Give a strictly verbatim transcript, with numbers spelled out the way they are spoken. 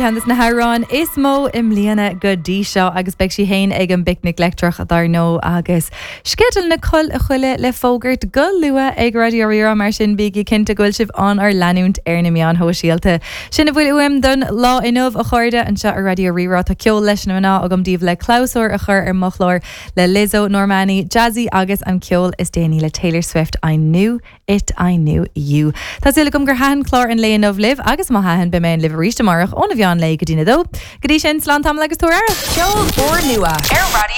Ceann de na hamhráin is mó i mbliana go dtí seo agus beidh sí féin ag an bPicnic Leictreach dar ndóigh agus sceideal na col a chuile le fógairt go luath ag Raidió Rí-Rá mar sin bígí cinnte go bhfuil sibh ár leanúint ar na meáin shóisialta. Sin a bhfuil uaim don lá inniu a chairde anseo ar Raidió Rí-Rá tá ceol leis na mná agam daoibh le clabhsúr a chur ar mo chlár le Lizzo, Normani, Jazzy agus an ceol is déanaí le Taylor Swift I knew it I knew you. Tá súil agam gur thaitin clár an lae inniu libh agus má thaitin beidh mé libh arís amárach óna mheán lae go dtí a dó. Go dtí sin slán tamall agus tabhair aire. Ceol úrnua ar Raidió